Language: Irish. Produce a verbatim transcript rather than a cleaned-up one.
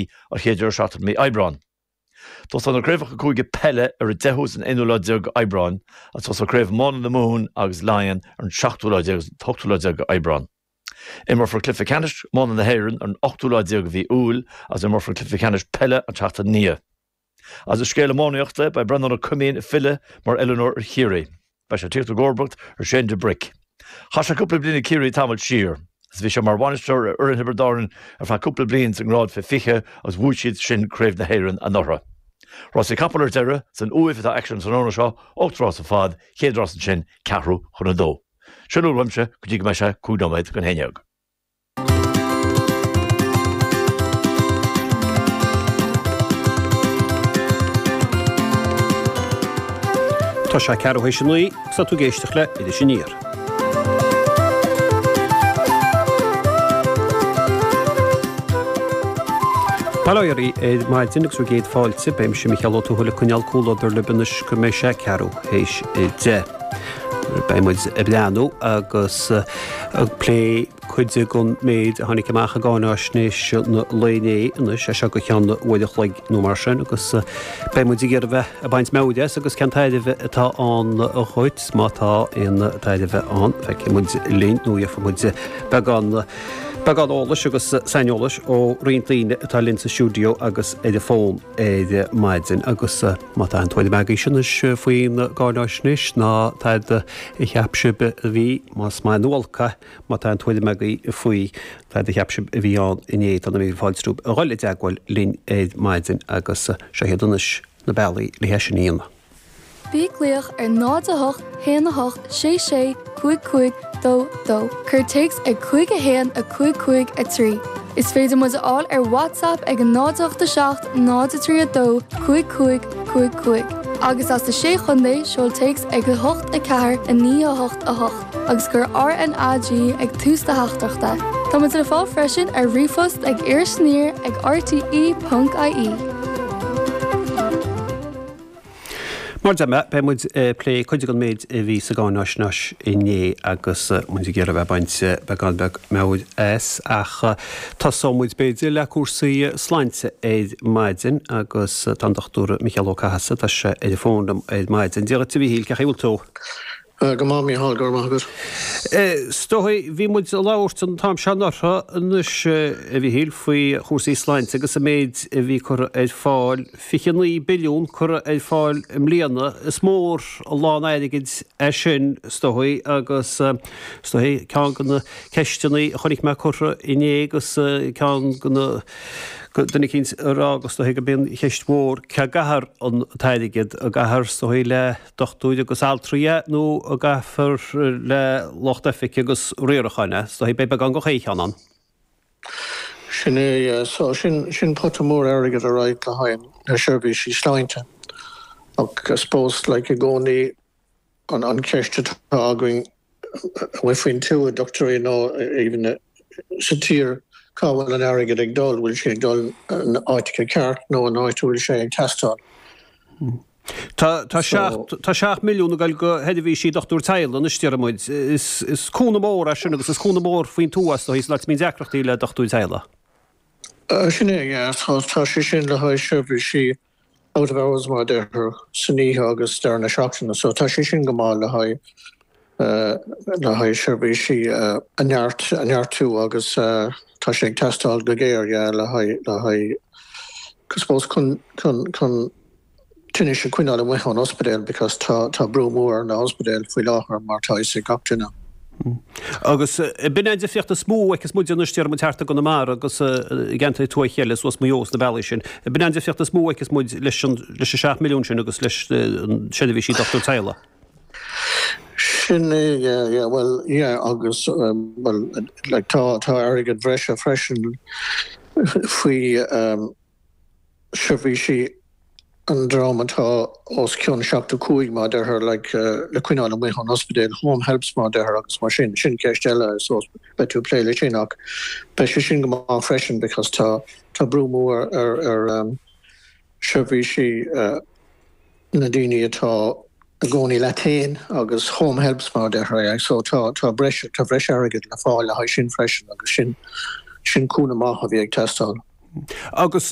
an chéad deireadh seachtaine mí Aibreán. Tosóidh na craobhacha cúige peile ar an deichiú is an aonú lá déag Aibreán agus tosóidh craobh iomána na Mumhan agus Laighean ar an seachtú lá déag agus an t-ochtú lá déag Aibreán. Imreofar cluiche ceannais iomána na hÉireann ar an ochtú lá déag de mhí Iúil agus imreofar cluiche ceannais peile an tseachtain ina dhiaidh. Agus i scéal iománaíochta, beidh Breandán Ó Coimín ag filleadh mar oiliúnóir ar Chiarraí. Beidh sé ag tíocht i gcomharbacht ar Shane de Bruic. Chaith sé cúpla bliain ag Ciarraí tamall siar, agus bhí sé mar bhainisteoir ar fhoireann Thiobraid Árann ar feadh cúpla bliain sa ngrád fé fiche agus bhuaigh siad sin Craobh na hÉireann anuraidh. Rásaí capall ar deireadh, san Uaimh atá aicsean tráthnóna seo, ocht rás ar fad, chéad rás ansin ceathrú chun a dó. Sin a bhfuil uaimse go dtí go mbeidh sé cúig nóiméad chun a haon déag. Tá sé ceathrú théis a naoi agus tá tú ag éisteacht le Iris Aniar. Bail ó Dhia oraibh ar maidin agus bhur gcéad fáilte. Beidh mise Micheál Ó Tuathail ag coinneáil comhluadar libh anois go mbeidh sé ceathrú théis a deich. Beidh muid ag breathnú agus ag plé cuid den méid a tháinig amach i gcáináisnéis an lae inné anois, as seo go ceann uair a chloig nó mar sin, agus beidh muid ag iarraidh bheith ag baint meabhair as agus cén tairbhe atá ann dhuit, má tá aon tairbhe ann, feicfidh muid linn nó gheobhaidh muid beagán beagán eolais agus saineolais ó roinnt daoine atá linn sa stiúideo agus ar an bhfón ar maidin. Agus má tá aon tuairim agaibhse anois faoin gcáináisnéis ná tada a cheap sibh a bhí, más maith nó olc é, Má tá aon tuairim agaibh faoi cad a cheap sibh a bhí ann inné, tá na míle fáilte romhaibh a dhul i dteagmháil linn ar maidin agus seo iad anois na bealaí le hé sin a dhéanamh. Bí ag glaoch ar náid a hocht haon a hocht sé sé cúig cúig dó dó. Cuir téacs ag cúig a haon a cúig cúig a trí. Is féidir muid a fháil ar WhatsApp ag a náid a hocht a seacht náid a trí a dó cúig cúig cúig cúig. Agus as na Sé Chontae, seol téacs ag a hocht a ceathair a naoi a hocht a hocht. agus cuir RnaG ag tús do theachtaireachta. Tá muid le fáil freisin ar ríomhphost ag irisaniar ag rte ponc ie. Mar a deir mé, beidh muid ag plé cuid den méid a bhí sa gcáináisnéis inné agus muid ag iarraidh bheith ag baint beagán beag meabhair as ach tosóidh muid b'fhéidir le cúrsaí sláinte ar maidin agus tá an Dochtúir Micheál Ó Cathasaigh, tá sé ar an bhfón liom ar maidin. Dia dhuit a Mhíchíl, cén chaoi a bhfuil tú? Go maith, Mícheál, go raibh maith agat. Is dóigh, bhí muid ag labhairt an t-am seo anuraidh anois, a Mhíchíl, faoi chúrsaí sláinte agus an méid a bhí curtha ar fáil, fiche naoi billiún curtha ar fáil i mbliana. Is mór an lán airgid é sin, is dóigh, agus is dóigh ceann de na ceisteanna a chonaic mé curtha inné agus ceann de na duine eicínt ag rá agus is dóigh gurb í an cheist mhór, cá gcaithfear an t-airgead, an gcaithfear, is dóigh, le dochtúirí agus altraí é nó an gcaithfear le lucht oifige agus riaracháin é. Is dóigh beidh beagán de chaon cheann ann. Sin é, yeah. So sin, sin pota mór airgid alright le haghaidh na seirbhísí sláinte. Ach I suppose like i gcónaí an, an cheist atá againn amuigh faoin tuath, dochtúirí nó even sa tír, cá bhfuil an airgead ag dul, bhfuil sé ag dul an áiteacha ceart nó an áit a bhfuil sé ag teastáil. Tá tá seacht tá seacht milliún ag dul go sheirbhísí dochtúir teaghlaigh anois deir muid. Is is cúnamh mór é sin agus is cúnamh mór faoin tuath is dóigh san áit a mbíonn deacrachtaí le dochtúir teaghlaigh. Sin é, yeah. Tá tá sé sin le haghaidh seirbhísí out of hours mar a deirtear san oíche agus deireadh na seachtaine. So tá sé sin go maith le haghaidh le haghaidh seirbhísí a neart a neartú agus tá sé ag teastáil go géar, yeah, le haghaidh le haghaidh I suppose chun chun chun tinnis a choinneáil amuigh ón ospidéal because tá tá brú mór ar na hospidéil faoi láthair mar tá fhios ag gach duine. Agus b'in é an difríocht is mó a fheiceas muid anois déarfaidh muid thart i gConamara agus i gceantair tuaithe eile suas Maigh Eo sna bealaí sin. B'in é an difríocht is mó a fheiceas muid leis an leis an seacht milliún sin agus leis an seirbhísí dochtúir teaghlaigh. Sin é, yeah, yeah, well, yeah agus well like tá tá airgead bhreise freisin faoi seirbhísí an dream atá os cionn seachtó cúig mar a deirtear like le coinneáil amuigh ón ospidéal, home helps mar a deirtear agus mar sin, sin ceist eile so beidh tú ag plé leis sin ach beidh sé sin go maith freisin because tá tá brú mór ar ar seirbhísí na daoine atá i gcónaí leat féin agus home helps mar a deirtear so tá tá breis tá breis airgid le fáil le haghaidh sin freisin agus sin sin cúnamh maith a bhí ag teastáil. Agus